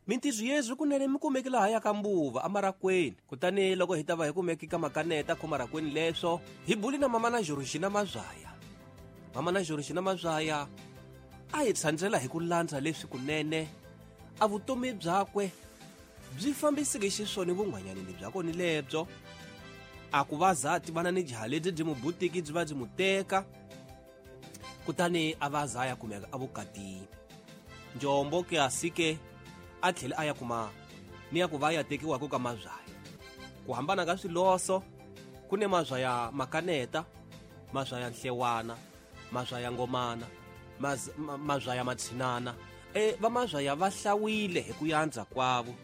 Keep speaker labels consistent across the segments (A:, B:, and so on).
A: Mintirho yezwi kunene mi kumeki laha ya ka mbuva amarakweni. Kutani loko hi ta va hi kumeki ka makaneta khomarakweni leswo, hi buli na mama na Georgina Mazwaya. Mama na Georgina Mazwaya a hi tshandzela hi ku landza leswi kunene a vutomi byakwe byi fambiseke xiswona vun'wanyanini bya kona lebyo. A ku va za tivana ni jaha lebyi byi mu butiki byi va byi mu teka, kutani a va za ya kumeka evukatini. Njombo ke a sike a tlhela a ya kuma ni ya ku va ya tekiwaka ka Mazwaya. Ku hambana ka swiloso ku ne Mazwaya makaneta, Mazwaya nhlewana, Mazwaya ngomana, Mazwaya matshinana. Va Mazwaya va hlawile hi ku yandza kwavo.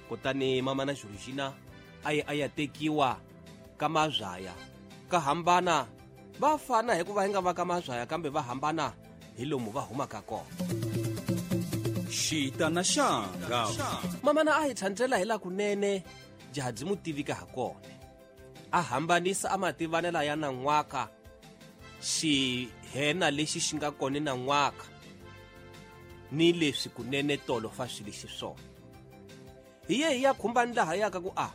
A: Kutani mama na Georgina a ye a ya tekiwa ka Mazwaya. Ka hambana va fana hikuva hi nga va ka Mazwaya, kambe va hambana hi lomu va humaka kona.
B: Xita na xanga.
A: Mama na a hi tshandzela hi la kunene jaha byi mu tivika ha kona. A hambanisa a mativanela ya nan'waka xihena lexi xi nga kona nan'waka ni leswi kunene tolo fa swi lexi swona. Hi ye hi ya khumbani laha yaka ku a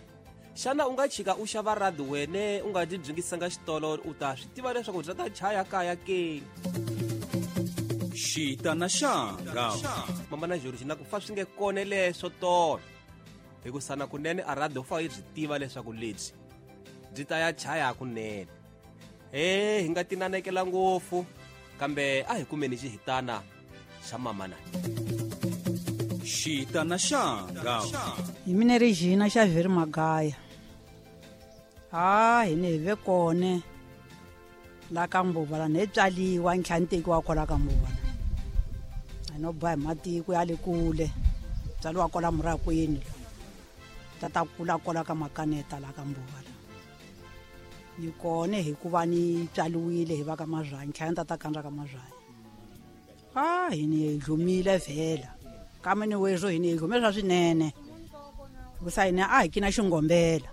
A: xana u nga chika u xava radi wene u nga dyi byingisanga xitolo, u ta swi tiva leswaku bya ta chaya kaya ke.
B: Xita na xanga.
A: Mama na Georgina ku fa swi nge kone leswo tolo. Hikusa na kunene a radi u fa yi byi tiva leswaku lebyi byi ta ya chaya kunene. Hi nga tinanekela ngopfu, kambe a hi kumeni xihitana xa mama na.
B: Xita na xanga.
C: Hi mina Regina Xavier Magaya. Ha, hi ne hi ve kone la ka Mbuva la ne tswaliwa ntlhanu tekiwa kwala ka Mbuva la. A no boha hi matiko ya le kule. Tswaliwa kwala Murakwini. Tata kula kwala ka Makaneta la ka Mbuva la. Ni kone hikuva ni tswaliwile hi va ka Mazwaya, ntlhanu tata kandza ka Mazwaya. Ha, hi ni dlumile vhela. Kambe ni wezwo hi ni dlume swa swinene. Hikusa hina a hi kina xingombela.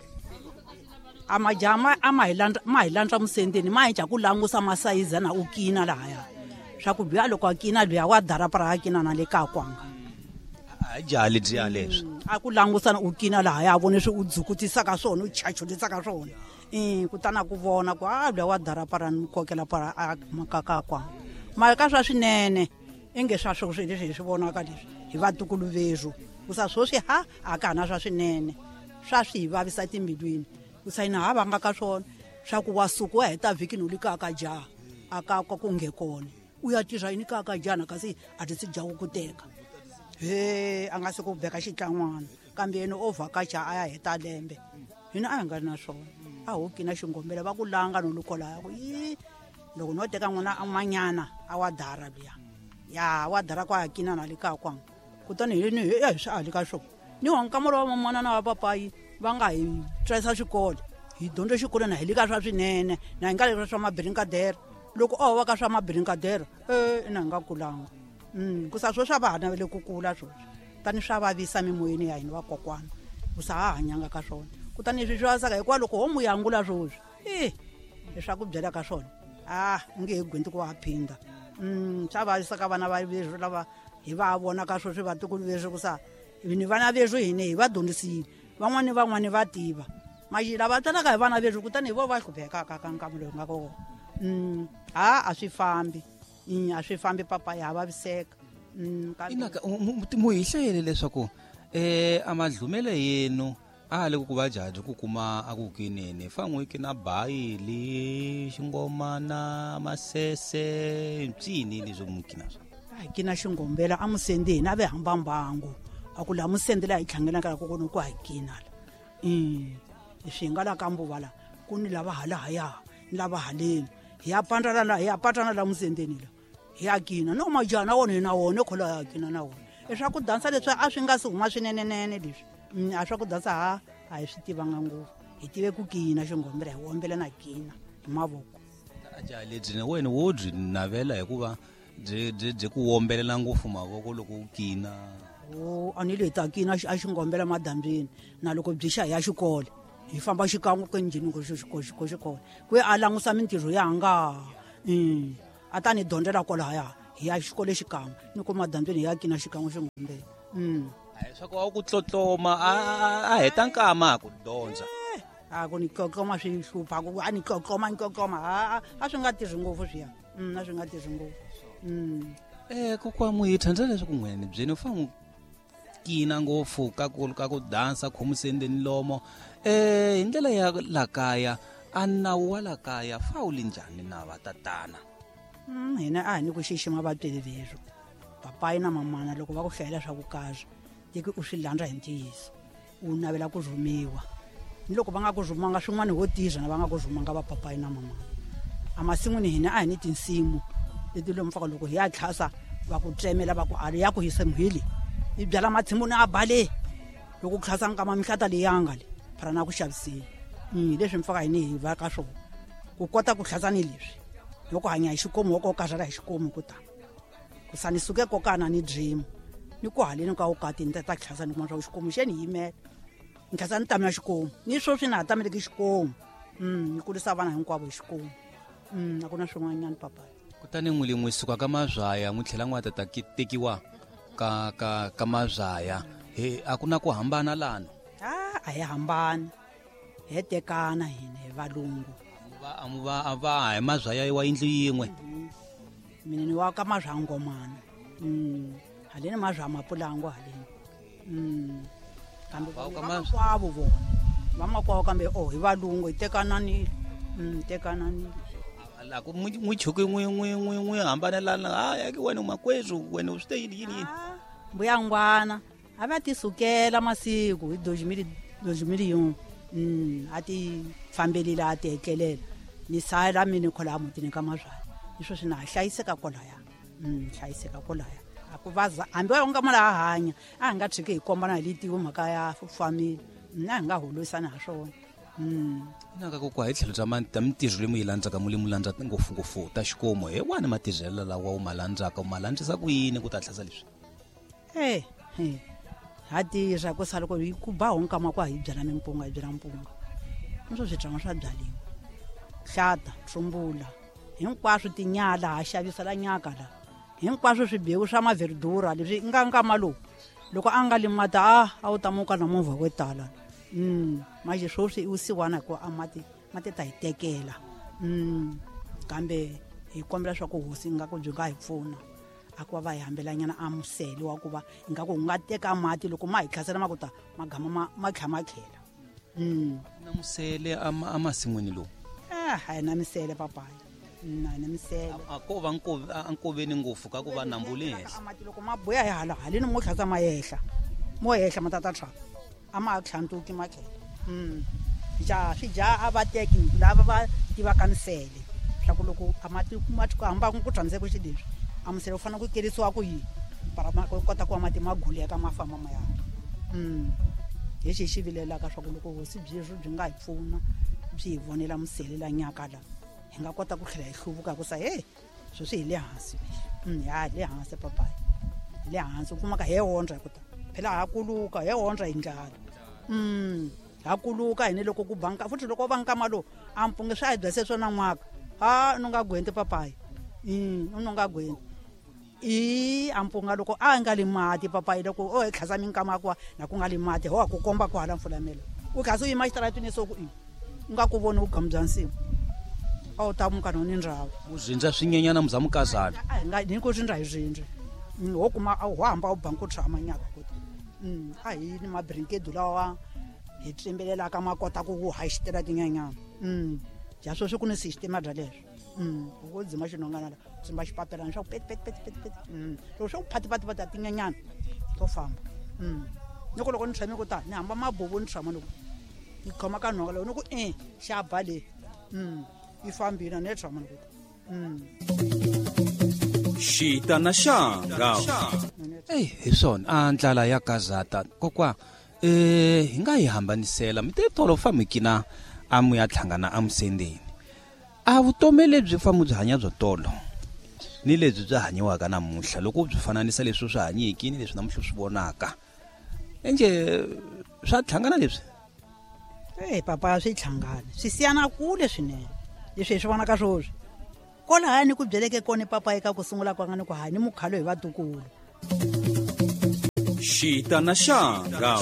C: A majaha a ma hi landza, ma hi landza musendeni, ma hi dya ku langusa masayiza na u kina lahaya. Swa ku luya loko a kina luya wa darapara a kina na le ka kwanga.
D: A jaha lebyiya leswi.
C: A ku langusa na u kina lahaya, a vone swi u dzukutisaka swona, u chachulisaka swona. Kutani a ku vona ku a luya wa darapara ni kokela para a makaka kwanga. Mara ka swa swinene inge swa sweswi leswi hi swi vonaka leswi hi vatukulu vezu. Kusa sweswi ha a ka ha na swa swinene, swa swi hi vavisa timbilwini. Kusa hina ha vanga ka swona swa ku wa suka wa heta vhiki no li ka ka jaha a ka ka ku nge kona u ya tirha yini ka ka jaha kasi a ti si jaha ku teka. He a nga se ku beka xitlan'wana kambe yena o vhakacha a ya heta lembe. Hina a hi nga ri na swona, a ho kina xingombela va ku langa no likola ya ku yi loko no teka n'wana a n'wanyana a wa dara luya. Ya wa dara kwa kina na le ka kwanga. Kutani hi ni hi swi ali ka swona. Ni wa nkamoro wa mamana na wa papayi va nga hi tswarisa xikolo. Hi dyondze xikolo na hi le ka swa swinene, na hi nga le ka swa mabirinkadere. Loko o va ka swa mabirinkadere, na hi nga kulanga. Ku sa swo swa va ha navele ku kula sweswi. Tani swa vavisa mimoyeni ya hina vakokwana. Ku sa ha hanyanga ka swona. Kutani leswi swi vavisaka hikuva loko ho mu yangula sweswi, leswi a ku byelaka ka swona, u nge he gwinti ku wa phinda. Swa vavisa ka vana va veswi lava hi va vonaka sweswi vatukulu veswi ku sa ni vana veswi hina hi va dyondzisile. Van'wani ni van'wani va tiva. Maxi lava tswalaka hi vana veswi kutani hi vo va hluphekaka ka nkarhi lowu nga kona. Ha, a swi fambi. A swi fambi papa ya vaviseka. Kambe
D: Inaka, mu hi hlayele leswaku, a madlumele yenu a le ku va jaji ku kuma a ku kinene fa n'wi kina bayili xingomana masese mpyini leswi mu kina swa.
C: A hi kina xingombela a musendi hina ve hamba mbangu a ku la musendi la hi tlhangelaka ku kona ku hi kina la. Leswi hi nga la ka mbuva la ku ni lava hala haya ni lava haleni hi ya pandza la hi ya patsana la musendeni la hi ya kina no majaha na wona hi na wona khola ya kina na wona. Leswaku dansa leswi a swi nga si huma swinenenene leswi. A swa ku dansa ha a hi swi tivanga ngopfu. Hi tive ku kina xingombela hi wombela na kina hi mavoko.
D: A jaha lebyi na wena wo byi navela hikuva byi ku wombelela ngopfu mavoko loko u kina.
C: O, a ni le ta kina a xingombela madambyini na loko byi xa hi ya xikolo hi famba xikan'we ku njhini ku xikolo ku a langusa mintirho ya nga. A ta ni dyondzela kwalahaya hi ya xikolo xikan'we ni ku madambyini hi ya kina xikan'we xingombela.
D: Swa ku a ku tlotloma a heta nkama ku dyondza.
C: A ku ni tlotloma swi hlupha ku a ni tlotloma ni tlotloma a swi nga tirhi ngopfu swiya. A swi nga tirhi ngopfu.
D: Kokwa Muhitha ndza leswaku n'wene byeni u fanele kina ngopfu ka ku dansa khomusendeni lomo. Hi ndlela ya la kaya a nawu wa la kaya fa wu li njhani na va tatana?
C: Hina a hi ni ku xixima vatswari verhu. Papayi na mamana loko va ku hlayela swa vukazi tiki u swi landza hi ntiyiso u navela ku rhumiwa. Ni loko va nga ku rhumanga swin'wana ho tirha na va nga ku rhumanga va papayi na mamana. Amasin'wini hina a hi ni tinsimu leti lomu faka loko hi ya tlhasa va ku tsemela va ku a ya ku hisa muhili i byala matshimuni a bale loko ku tlhasa nkama mihlata leyanga le phara na ku xaviseni. Leswi mfaka hini hi va ka swona ku kota ku tlhasa ni leswi loko hanya hi xikomu wo karhala hi xikomu ku ta ku sa ni suke kokana ni dream ni ku haleni ka ukati ni ta tlhasa ni kuma swa xikomu xe ni yimela ni tlhasa ni tamela xikomu ni sweswi na ha tameleki xikomu. Ni kurisa vana hinkwavo hi xikomu. A ku na swin'wanyana papa.
D: Kutani n'wi lin'we suka ka mazwaya n'wi tlhela n'wi ta tekiwa ka mazwaya he a ku na ku hambana lano?
C: A hi hambani he tekana hina hi valungu.
D: A va hi mazwaya wa yindlu yin'we.
C: Mina ni wa ka mazwaya ngomana. Haleni mazwaya mapulango haleni. Kambe vamakwavo vona vamakwavo kambe hi valungu hi tekananile. Tekananile.
D: La ku n'wi chuki n'wi hambanelana ha ke wena makwethu wena u swi te yini yini.
C: Mbuyangwana a va ti sukela masiku hi dojimili a ti fambelile a ti etlelela ni sala mina khola mutini ka mazwaya iswo swi na hlayiseka kolaya. Hlayiseka kolaya a ku vaza hambi wa nga mala hanya a nga tshiki hi kombana hi litiwe mhaka ya family na hi nga holovisana ha swona.
D: Naka kokwa hi tlhelo bya mintirho leyi mu yi landzaka mu le mu landza ngopfungopfu ta xikomu hi wani matirhelo lawa u ma landzaka u ma landzisa ku yini ku ta tlhasa leswi?
C: Ha tirha ku sala ku ba ho nkama kwa hi byala mimpunga hi byala mpunga niswo swibyariwa swa byaliwa hlata tsumbula hinkwaswo tinyala ha xavisa la nyaka la hinkwaswo swibewu swa maverdura leswi nga nkama lowu loko a nga limata a wu ta muka na movha wo tala. Manje sweswi i wusiwana hikuva a mati ta hi tekela. Kambe hi kombela swa ku hosi nga ku byi nga hi pfuna a ku va hi hambelanyana a musele wa ku va ingaku u nga teka mati loko ma hi tlhasela ma ku ta magama ma tlha ma tlhela.
D: Na musele amasin'wini lowu?
C: A hi na misele papayi. Na na misele.
D: A ko va nkoveni ngopfu ka ku va nambu le henhla.
C: Mati loko ma buya hi hala haleni mo tlhasa ma yehla. Mo yehla ma tata tlha. A ma tlhantuki ma tlhela. Ja swi ja a va teki lava va tivaka misele. Swa ku loko a mati ma ku hamba ku tsandzeka xileswi. A musele u fanele ku kerisiwa ku yini? Para ma kota ku va mati ma guleka ma famba ma ya. Hi xi xivilelaka swa ku loko hosi byi byi nga hi pfuna byi hi vonela musele la nyaka la hi nga kota ku tlhela hi hluvuka ku sa he sweswi hi le hansi. Ya hi le hansi papayi. Hi le hansi u kumaka he ondza hi ku ta. Phela ha kuluka he ondza hi ndlala. Ha kuluka hina loko ku banka futhi loko va nkama lowu a mpunge swi a hi byase swona n'waka. Ha u nga gwenti papayi. U nga gwenti. I ampunga loko a nga li mati papayi loko o hi tlhasa minkama kwa na ku nga li mati ho ku komba ku hala mfulamelo. U tlhasa u yima xitaratini so ku u nga ku voni vugamu bya nsimu. A wu ta muka ni ndhawu.
D: U zindza swinyenyana muzamukazana.
C: A hi nga ni ku zindza hi zindza. Ho kuma ho hamba u banku tshama nyaka ku. A hi ni mabrinkedu lawa hi tsimbelelaka ma kota ku ha xitela tinyenyana. Ja sweswi ku ni system bya leswo. U dzima xinongana la tsimba xipapelana swa ku pet pet pet pet pet. Loko swa ku phati phati phati tinyenyana to famba. Ni ku loko ni tshame ku ta ni hamba mabubu ni tshama loko ni khoma ka nhonga loko ni ku xa ba le. Yi fambile ni tshama loko.
B: Xita na xanga.
D: Hi swona a ndlala ya gazata kokwa hi nga yi hambanisela mi te tolo famikina a mu ya tlhangana a musendeni. A vutomi lebyi famu byi hanya byo tolo ni lebyi byi hanyiwaka namuntlha loko byi fananisa leswi swi hanyiki ni leswi namuntlha swi vonaka enje swa tlhangana leswi?
C: Papa swi tlhangana swi siyana kule swinene leswi hi swi vonaka swoswi kwalahaya ni ku byeleke kona papa eka ku sungula kwanga ni ku ha ni mukhalo hi vatukulu.
B: Xita na xanga.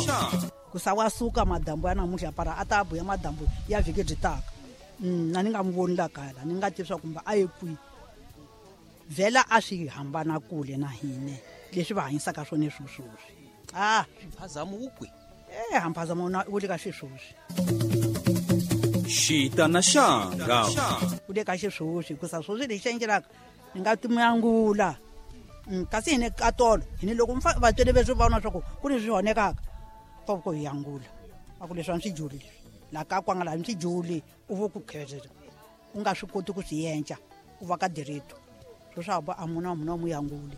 C: Ku sa wa suka madambu ya namuntlha para a ta buya madambu ya vhiki byi taka. Na ni nga n'wi voni la kaya la ni nga tivi swa kumbe a ye kwihi. Vhela a swi hambana kule na hina leswi va hanyisaka swona sweswi. Ah,
D: mphazamo wu kwi?
C: Mphazamo wu le ka xisweswi.
B: Xita na xanga.
C: Wu le ka xisweswi hikusa sweswi lexi endlelaka ni nga timuyangula. Kasi hina ka tolo hina loko vatswari va swi vona swa ku ku ni swi honekaka va ku hi yangula. A ku leswi a swi juli la ka kwanga la swi juli u vo ku khezela u nga swi koti ku swi yenca u va ka direto swo swa ba a muna muna mu yanguli.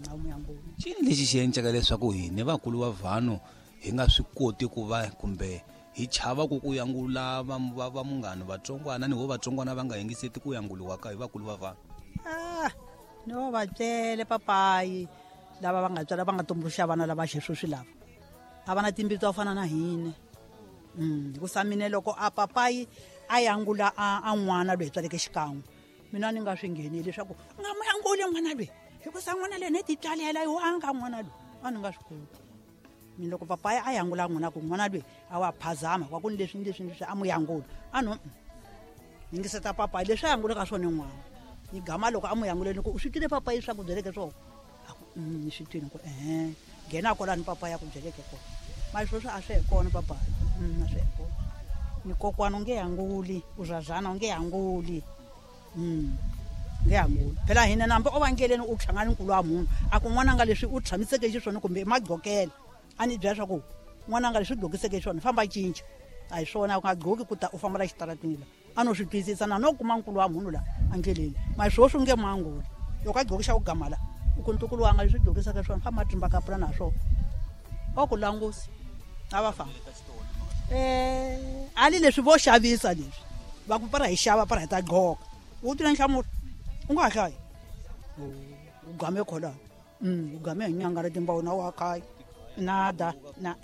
C: A mu yanguli.
D: Cini lexi xi encaka leswaku hina vakulu va vanhu hi nga swi koti ku va kumbe hi chava ku ku yangula va munghana vatsongwana ni ho vatsongwana va nga yingiseti ku yanguliwa ka hi vakulu va vanhu.
C: No va tsele papayi lava va nga tswala va nga tumbuluxa vana lava xisweswi lava a va na timbilu to fana na hina. Hikusa mina loko a papayi a yangula a n'wana loyi tswaleke xikan'we mina ni nga swi ngheneli leswaku nga mu yanguli n'wana loyi hikusa n'wana loyi ni titswalela yo a nga n'wana loyi a ni nga swi koti. Mina loko papayi a yangula n'wana ku n'wana loyi a wa phazama kwa ku ni leswi ni leswi ni leswi a mu yangula a no yingiseta papayi leswi a yangulaka swona n'wana. Ni gama loko a mu yanguleni ku u swi twile papayi swa ku byeleke swona a ku ni swi twile ku nghena kwalani papayi a ku byeleke kona. Mara sweswi a swi he kona papayi. A swi he kona. Ni kokwana u nge yanguli u zazana u nge yanguli. Nge yanguli. Phela hina nambe o va ndleleni u hlangana nkulu wa munhu a ku n'wana nga leswi u tshamiseke xiswona kumbe magqokela a ni byela swa ku n'wana nga leswi u gqokiseke xiswona famba cinca a hi swona u nga gqoki ku ta u famba la xitaratini la a no swi twisisa na no kuma nkulu wa munhu la andleleni mara sweswi u nge manguli loko a gqokisa ku gama la u ku ntukulu wa nga leswi gqokisaka swona famba trimba kapula na swona o ku langusi a va famba. Ali leswi vo xavisa leswi va ku para hi xava para hi ta gqoka u twile nhlamulo u nga hlayi u game khola. U game hi nyanga ra timbawu na wa kaya nada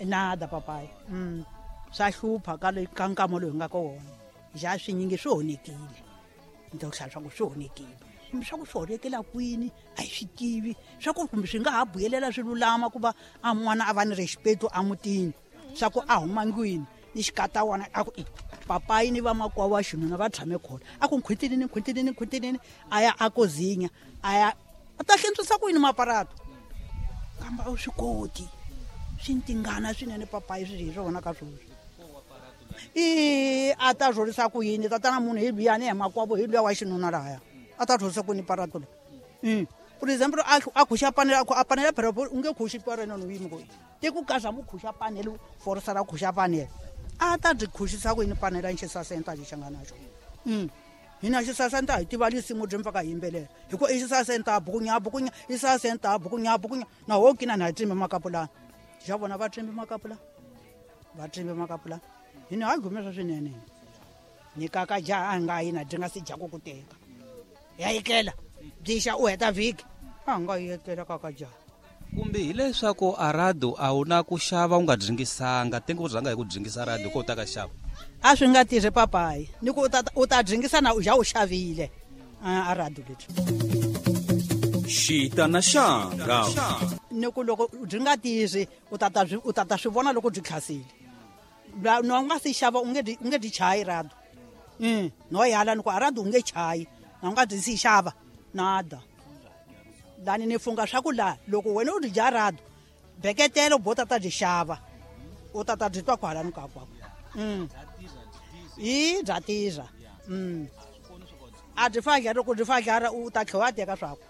C: nada papayi. Swa hlupha ka le ka nkama lowu hi nga ka wona ja swinyingi swi honekile. Ni ta ku hlaya swa ku swi honekile kumbe swa ku swi honekela kwini a hi swi tivi swa ku kumbe swi nga ha buyelela swi lulama ku va a n'wana a va ni respect a mutini swa ku a huma ndlwini ni xikata wona a ku papayi ni vamakwavo wa xinuna va tshame khona a ku nkhwitinini nkhwitinini nkhwitinini a ya a kozinya a ya a ta hlentswisa ku yini maparato kambe a wu swi koti swi ntingana swinene papayi swi hi swona ka sweswi. I a ta rhurisa ku yini tatana munhu hi luyani hi makwavo hi luya wa xinuna lahaya a ta rhurisa ku yini parato la. For example a khuxa panela a panela phela u nge khuxi parena no yimi ku ti ku kaza mu khuxa panela forsa ra khuxa panela a ta byi khuxisa ku yini panela ni xisasenta lexi nga na xona. Hina xisasenta hi tiva lisimu byi mpfaka hi yimbelela hi ku i xisasenta bukunya bukunya xisasenta bukunya bukunya na ho kina na hi trimbi makapulana xa vona va trimbi makapulana va trimbi makapulana hina ha gumesa swinene ni kaka jaha a nga yi na dyi nga si dya ku ku teka ya yikela byixa u heta vhiki a nga yekela kaka jaha.
D: Kumbe hileswaku arado a wu na ku xava u nga dringisanga tengo u rhanga hi ku dringisa rado ko ta ka xava
C: a swi nga tirhi papayi ni ku u ta dringisa na u ja u xavile arado leti.
B: Xita na xanga.
C: Ni ku loko byi nga tirhi u ta swi vona loko byi tlhasile no nga si xava u nge dyi chayi rado. No yala ni ku arado u nge chayi na u nga dyi si xava nada. Lani ni funga swa ku la loko wena u dyi dya rado beketelo bo tata dyi xava u tata dyi twa kwalani ka kwako. I bya tirha. A dyi fadla loko dyi fadlara u ta tlhela wa teka swaku.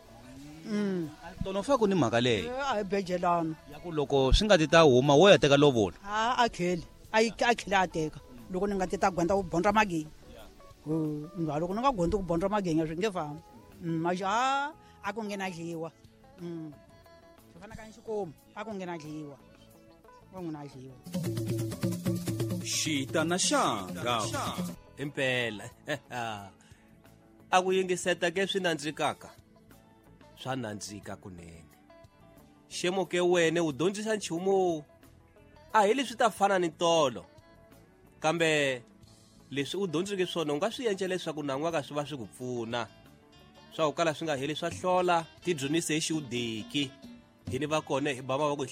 D: Tono fa ku ni mhaka leyi
C: a hi bejelana
D: ya ku loko swi nga ti ta huma wo ya teka lovola
C: a kheli a kheli a teka loko ni nga ti ta gwenda u bondra magenya. Loko ni nga gondi ku bondra magenya swi nge fambi. Maja a ku nge na dliwa. Swi fana ka xikomu a ku nge na dliwa. Ku nge na dliwa.
B: Xita na xanga.
A: Impela. A ku yingiseta ke swi nandzikaka. Swa nandzika kunene. Xemo ke wena u dyondzisa nchumu a hi leswi ta fana ni tolo kambe leswi u dyondzeke swona u nga swi endla leswaku nan'waka swi va swi ku pfuna swa ku kala swi nga heli swa hlola ti dyondzise hi xiudeki hi ni va kona hi bama va ku hi